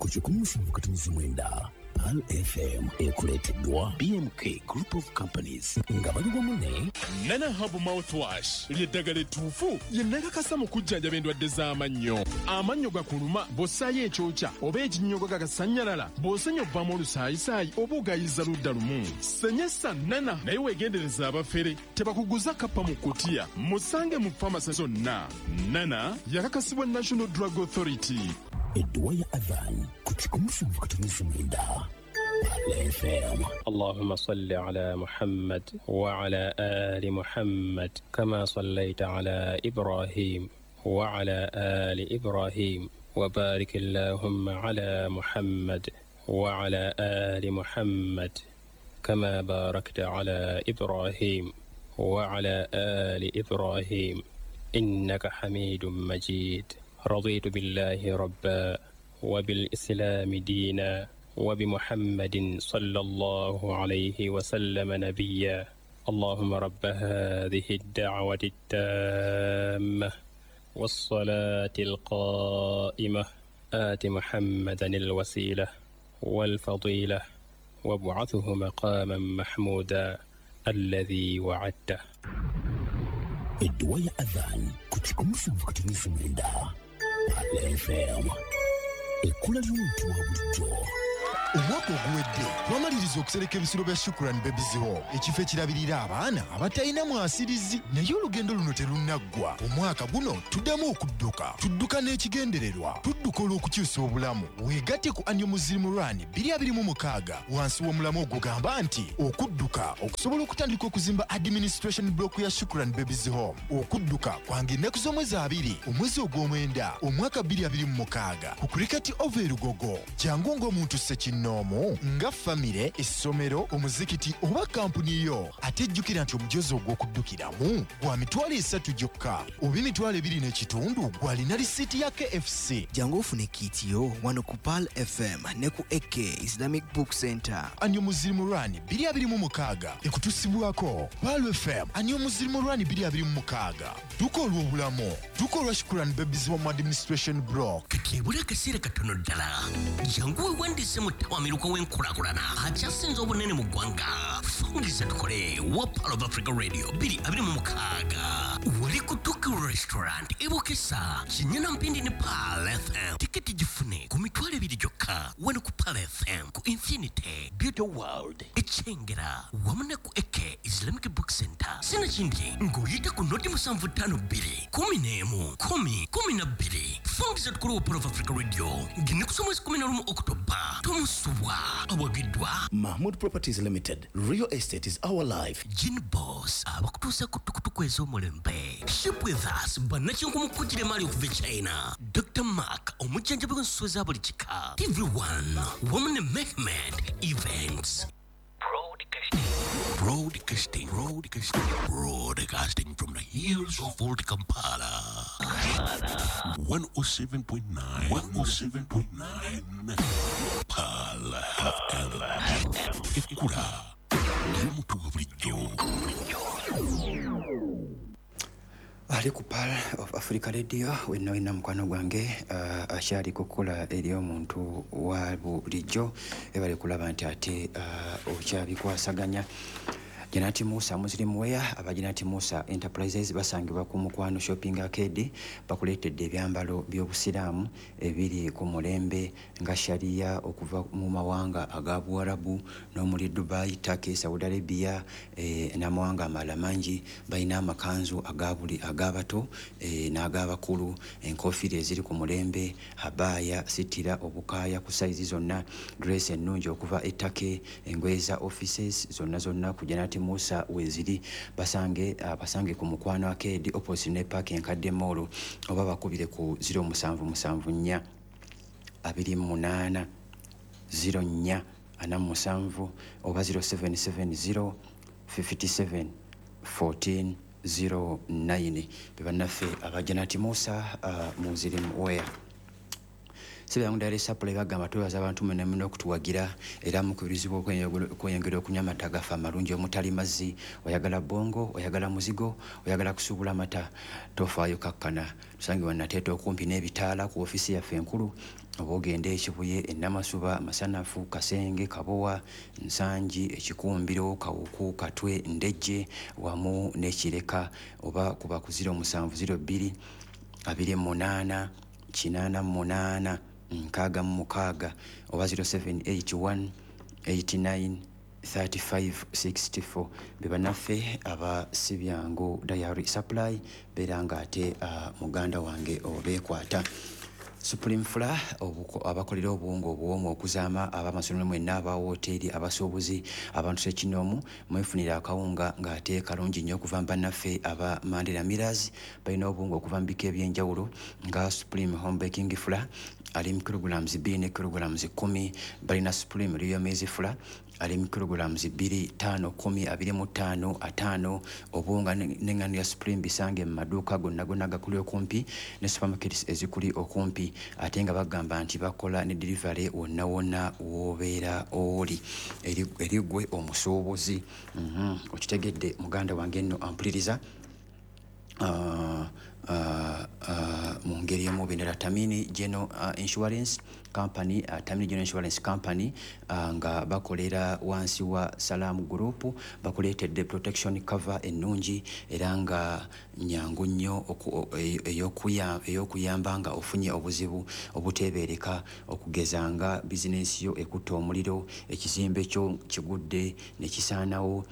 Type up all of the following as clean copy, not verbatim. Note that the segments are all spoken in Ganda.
Ku 107.9 Pearl FM, ekuleeteddwa BMK Group of Companies nga bali wamu ne Nana Herb Mouthwash, ly'eddagala ettuufu lye nakakasa mu kujjanjaba endwadde z'amannyo. Amannyo gakuluma, bw'ossaayo ekyokya oba ekinnyogo gagasannyalala, bw'osenya ovaamu olusaayisaayi oba ogayiza ludda lumu, senyesa Nana. Naye weegendereza abafere, tebakuguza kappa mu kutiya. Musange mu famasi zonna. Nana yakakasibwa National Drug Authority. Edduwa ya Adhan ku 107.9 Pearl FM. اللهم صل على محمد وعلى آل محمد كما صليت على إبراهيم وعلى آل إبراهيم، وبارك اللهم على محمد وعلى آل محمد كما باركت على إبراهيم وعلى آل إبراهيم، إنك حميد مجيد. رضيت بالله ربا، وبالإسلام دينا، وبمحمد صلى الله عليه وسلم نبيا. اللهم رب هذه الدعوة التامة والصلاة القائمة، آت محمدا الوسيلة والفضيلة، وابعثه مقاما محمودا الذي وعدته. Edduwa ya Adhan ku 107.9 Pearl FM, ekkula ly'omuntu wa bulijjo. Omwaka oguwedde twamaliriza okusereka ebisulo bya Shukran Babies Home, ekifo ekirabirira abaana abatalina mwasirizi. Naye olugendo luno terunnaggwa. Omwaka guno tuddamu okudduka. Tudduka n'ekigendererwa, tudduka olw'okukyusa obulamu. Weegatte ku Annual Muslim Run 2026 wansi w'omulamwa ogugamba nti okudduka okusobola okutandika okuzimba administration block ya Shukran Babies Home. Okudduka kwanga ennaku z'omwezi 20 omwezi ogw'omwenda omwaka 2026 ku Cricket Oval e Lugogo. Jangu ng'omuntu ssekinnoomu, nga famire, essomero, omuzikiti oba kampuni yo. Ate jjukira nti omujozi ogw'okuddukiramu gwa 30,000 gyokka oba 25,000 gw'alina risiiti ya KFC. Jangu ofune kit yo wano ku Pearl FM ne ku AK Islamic Book Center. Annual Muslim Run 2026 ekutusibwako Pearl FM. Annual Muslim Run 2026, dduka olw'obulamu, dduka olwa Shukran Babies Home Administration Block. Kati ebula akaseera katono ddala, jangu weewandiise mu ttawamiruka w'enkulaakulana akyasinze obunene mu ggwanga, Fungiza Tukole wa Pearl of Africa Radio 2026, wali ku Tokyo Restaurant ebukesa Kinyana Mpindi ne Pearl FM. Tiketi gifune ku 20,000 gyokka wano ku Pearl FM, ku Infinity Beauty World ekyengera wamu ne ku AK Islamic Book Center. Sinakindi ng'oyita ku 0752 11 10 12. Fungiza Tukole wa Pearl of Africa Radio ng'ennaku z'omwezi 11 Okutoba tomusubwa. Awagiddwa Mahmood Properties Limited. Real estate is our life. Gin Boss, abakutuusa ku tukutuku ez'omulembe. Ship with us, bannakyenkumukujira emaali okuva e China. Dr Mark, omujjanjabi w'ensolo za buli kika. TV1 wamu ne Mehmed Events. Broadcasting, broadcasting, broadcasting from the hills of Old Kampala. 107.9, 107.9, Pearl FM. Ekkula ly'omuntu wa bulijjo. Ali ku Pearl of Africa Radio wenna wenna, mukwano gwange akyali kukola eri omuntu wa bulijjo, ebali kulaba nti ate okyabikwasaganya. Janati Musa Muslim Wear, aba Janati Musa Enterprises basangibwa ku Mukwano Shopping Arcade, bakuleetedde ebyambalo by'obusiraamu ebiri ku mulembe nga sharia okuva mu mawanga aga Buwarabu n'omuli Dubai, Turkey, Saudi Arabia n'amawanga amalala mangi. Balina amakanzu aga buli ag'abato n'ag'abakulu, enkofiira eziri ku mulembe, abaaya, sitira, obukaaya ku sayizi zonna, dress ennungi okuva e Turkey, engoye za offices zonna zonna ku Janati Musa weziri. Basange ku Mukwano Arcade opposite ne Park Enkadde Mall, oba bakubire ku 0774 28 04 47 oba 0770 57 14 09. Be bannaffe aba Janati Musa Muslim Wear. Sibyangu Dairy Supply bagamba twebaza abantu mwenna mwenna okutuwagira, era mukubirizibwa okweyongera okunywa amata gaffe amalungi omutali mazzi. Oyagala bongo, oyagala muzigo, oyagala kusuubula amata, tofaayo, kakkana. Tusange Nateete okumpi n'ebitaala ku ofiisi yaffe enkulu, oba ogende Ekibuye, Enamasuba, Masanafu, Kasenge, Kabowa, Nsangi, Ekikumbiro, Kawuku, Katwe, Ndejje wamu n'Ekireka, oba kuba ku 0702 28 88 66 oba 0781 89 35 64. Be bannaffe aba Sibyangu Dairy Supply. Beera nga ate muganda wange obeekwata. Supreme Flour, abakolera obuwunga obuwoomu okuzaama, abamasomero mwenna, aba woteeri, abasuubuzi, abantu sekinoomu, mwefunira akawunga ng'ate kalungi nnyo okuva mu bannaffe aba Mandela Millers. Balina obuwunga okuva mu bika ebyenjawulo nga Supreme Home Baking Flour ali mu kilograms 2 ne kilograms 10. Balina Supreme Real Maize Flour ali mu kilograms 2, 5, 10, 25, 50. Obuwunga n'eŋŋano ya Supreme bisange mu maduuka gonna gonna agakuli okumpi ne supermarkets ezikuli okumpi, ate nga bagamba nti bakola ne delivery wonna wonna w'obeera oli eri ggwe omusuubuzi. Okitegedde muganda wange nno ampuliriza mu ngeri emu bendera. Tamini General Insurance Company, Tamini General Insurance Company, nga bakolera wansi wa Salam Group, bakuleetedde protection cover ennungi era nga nyangu nnyo ey'okuyamba nga ofunye obuzibu obuteebeereka, okugeza nga bizinensi yo ekutta omuliro, ekizimbe kyo kigudde ne kisaanawo,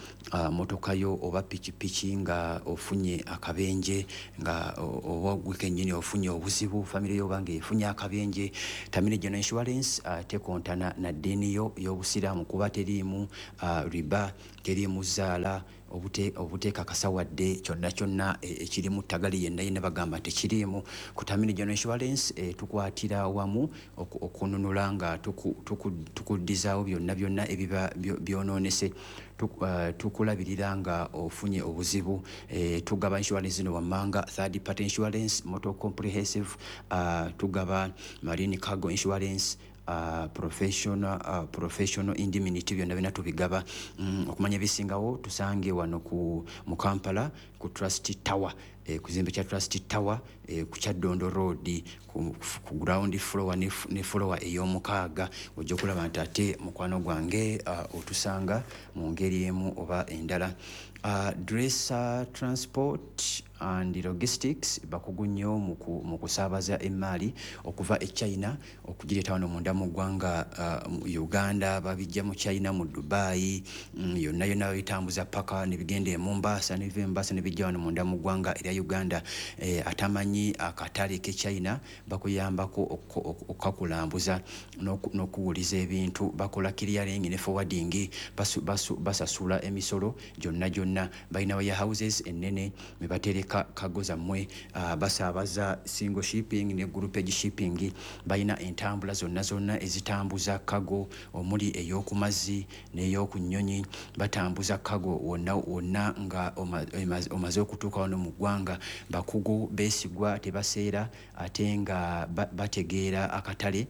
motoka yo oba pikipiki nga ofunye akabenje, nga oba gwe kennyini ofunye obuzibu, famire yo oba nga efunye akabenje. Tamini General Insurance tekontana na ddiini yo y'Obusiraamu, kuba teriimu riba, teriimu zaala, obuteekakasa wadde kyonna kyonna ekirimu ttagali yenna yenna, bagamba tekiriimu. Ku Tamini General Insurance tukwatira wamu okununula nga tukuddizaawo byonna byonna ebiba byonoonese. Tukulabirira nga ofunye obuzibu. Tugaba insurance zino wammanga: third party insurance, motor comprehensive, tugaba marine cargo insurance, professional indemnity, byonna byonna tubigaba. Okumanya ebisingawo, tusange wano mu Kampala ku Trust Tower, ku kizimbe kya Trust Tower, ku Kyaddondo Road, ku ground floor ne floor ey'omukaaga. Ojja okulaba nti ate mukwano gwange otusanga mu ngeri emu oba endala. Dresser Transport and Logistics bakugu nnyo mu kusaabaza emaali okuva e China okugireeta wano munda mu ggwanga mu Uganda. Babijja mu China, mu Dubai, yonna yonna babitambuza paka ne bigenda e Mombasa, ne biva e Mombasa ne bijja wano munda mu ggwanga erya Uganda. Atamanyi akatale ke China, bakuyambako okukakulambuza n'okuwuliza ebintu. Bakola clearing ne forwarding, basasula emisolo gyonna gyonna. Balina warehouses ennene mwe batereka cargo zammwe. Basaabaza single shipping ne groupage shipping. Balina entambula zonna zonna ezitambuza cargo, omuli ey'oku mazzi n'ey'oku nnyonyi. Batambuza cargo wonna wonna nga omaze okutuuka wano mu ggwanga. Bakugu beesigwa, tebaseera, ate nga bategeera akatale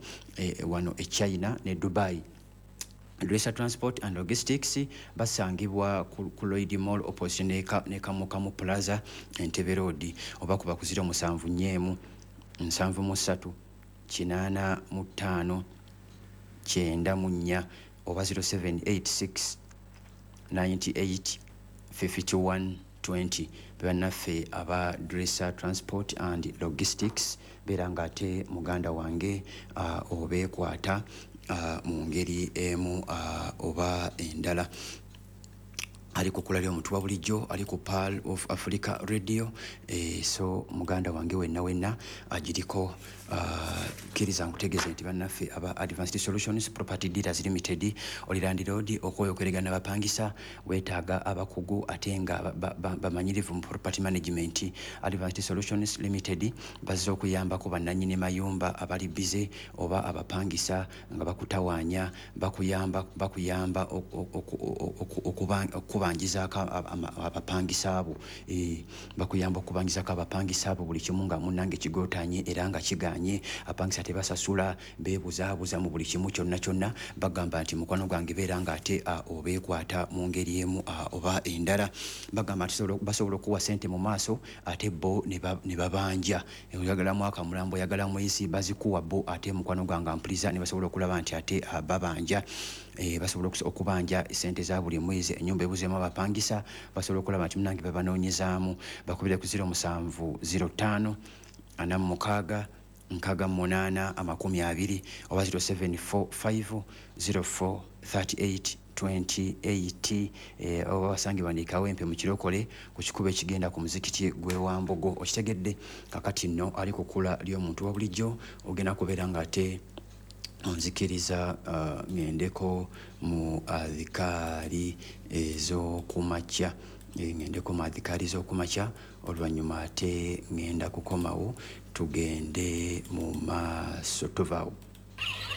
wano e China ne Dubai. Dresser Transport and Logistics basangibwa ku Lloyd Mall opposite ne Kamukamu Plaza, Entebbe Road, oba kuba ku 071 73 85 94 oba 0786 98 51 20. Bannaffe aba Dresser Transport and Logistics, beera nga ate muganda wange obeekwata mu ngeri emu oba endala. Ali ku kkula ly'omuntu wa bulijjo, ali ku Pearl of Africa Radio. So muganda wange wenna wenna agiriko, kkiriza nkutegeeze nti bannaffe aba Advanced Solutions Property Dealers Limited, oli landlord okwoyokeregana bapangisa, weetaaga abakugu ate nga bamanyirivu mu property management, Advanced Solutions Limited bazze okuyambako bannannyini mayumba abali bize oba abapangisa nga bakutawaanya. Bakuyamba okubanjizaako abapangisa abo. Bakuyamba okubanjizaako abapangisa abo buli kimu nga munnange kigootanye era nga kigaanye. zisaasaanye, apangisa tebasasula, beebuzaabuza mu buli kimu kyonna kyonna. Bagamba nti mukwano gwange beera nga ate obeekwata mu ngeri emu oba endala. Bagamba nti basobola okuwa sente mu maaso ate bo ne babanja. Oyagala mwaka mulambo, oyagala mwezi, bazikuwa bo ate mukwano gwange ampuliza ne basobola okulaba nti ate babanja. Basobola okubanja sente za buli mwezi. Ennyumba ebuzeemu abapangisa, basobola okulaba nti munange babanoonyezaamu. Bakubire ku 07 05 46 68 20 oba 0745 04 38 28, oba basangibwa ne Kawempe mu Kirokole ku kikubo ekigenda ku muzikiti gw'e Wambogo. Okitegedde? Kakati nno ali ku kkula ly'omuntu wa bulijjo, ogenda kubeera ng'ate onzikiriza ŋŋendeko mu adhikaari ez'okumakya. Ŋŋendeko mu adhikaari ez'okumakya, oluvannyuma ate ŋŋenda kukomawo tugende mu maaso. Tuvaawo.